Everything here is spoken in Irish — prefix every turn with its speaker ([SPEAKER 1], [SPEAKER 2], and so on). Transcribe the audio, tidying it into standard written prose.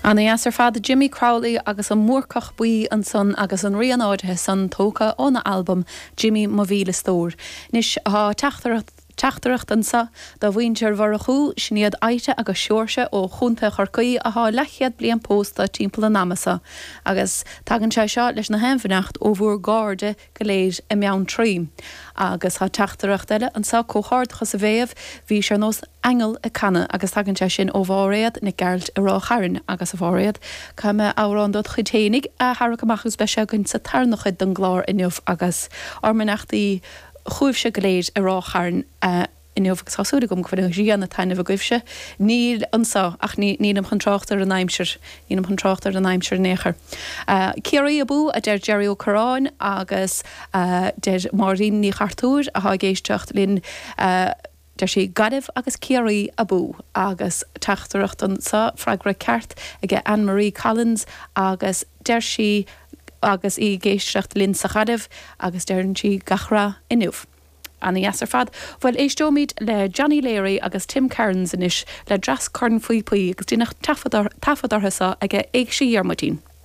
[SPEAKER 1] Ana dheas ar fad, Jimmy Crowley agus an Búrcach Buí ansan agus an rian áirithe san tógtha óna albam Jimmy Mo Mhíle Stór. Anois tá teachtaireacht teachtaireacht anso do mhuintir Mhurchú, sin iad Ita agus Seoirse ó Chontae Chorcaí athá leathchéad bliain pósta timpeall an ama so agus tagann sé seo leis na haon bheannacht ó bhúr gcairde go léir i mBeanntraí. Agus tá teachtaireacht eile anso, Comhghairdeachas a Mhéabh, bhís ar nós aingeal ag canadh agus tagann sé sin ó Mháiréad Nic Gearailt i Ráth Chairn. Agus a Mháiréad, caithfidh mé amhrán dod chuid fhéinig a tharrac amach agus beidh sé againn sa tarna chuid den gclár inniu agus ár mbeannachtaí chugaibhse go léir i Ráth Chairn a inniu agus tá súil agam go bhfuil an ghrian ag taitneamh agaibhse. Níl anso, ach ní, nílim chun trácht ar an aimsir, nílim chun trácht ar an aimsir in aon chor. Ciarraí abú, a deir Jerry Ó Curráin agus deir Máirín Ní Chartúir atá ag éisteacht linn, deir sí Gaillimh agus Ciarraí abú agus teachtaireacht anso, freagra ceart aige Anne Marie Collins agus deir sí agus í ag éisteacht linn sa Ghaillimh agus deireann sí gach rath inniu. Ana dheas ar fad. Bhuel, éisteoimid le Johnny Leary agus Tim Kearns anois le dreas cornphíopaí agus deineadh taifead orthu seo aige Éigse Dhiarmuidín.